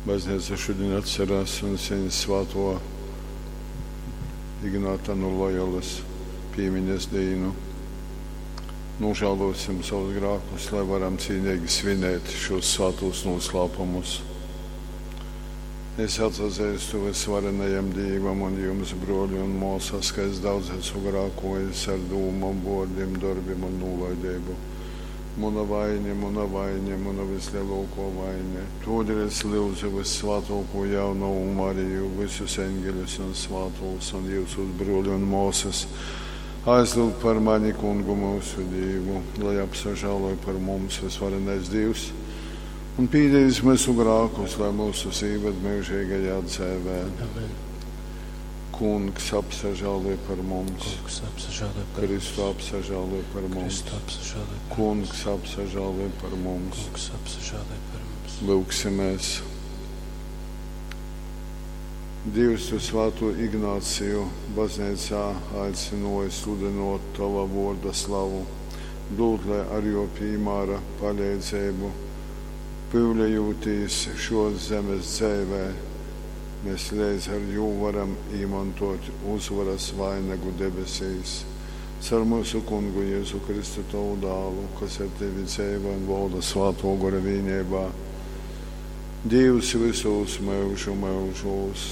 Bazneica šodien atcerās un sviņ svāto Ignāta no Loyolas pīmiņas dīnu. Nožēlosim savus grēkus, lai varam cīnīgi svinēt šos svātos noslēpumus. Es atzīstu visvarenajam Dievam un jums, broļi un māsas, ka es daudz esmu grēkojis ar dūmām, vārdiem, darbiem un nolaidību. Mana vaina, mana vaina, mana vislielāko vaina. Todēļ es lūdzu vissvētāko jaunavu Mariju, visus eņģeļus un svētos un jūsus broļi un māsas. Aizlūg par mani kungu mūsu Dievu, lai apsažāloj par mums visvarenais Dievs un pīdīs mūsu grēkus, lai mūsu ieved mūžīgajā dzīvē. Amen. Kungs apsažāloj par mums, Kungs apsažāloj par Kristu apsažāloj par mums, Kristu apsažāloj par Kungs apsažāloj par mums. Kungs apsažāloj par mums. Lūksimies. Dievs, tu svēto Ignāciju baznīcā aicināja sludinot tava vārda slavu, dod, lai ar jo piemēra palīdzību pyulējūtīs šos zemes dzēvē, mēs līdz ar jū varam īmantot uzvaras vainagu debesīs. Caur mūsu kungu Jēzu Kristu tavu dālu, kas ar tevi dzēvo un valda svāto gora vienībā. Dievs visos mūžu mūžos.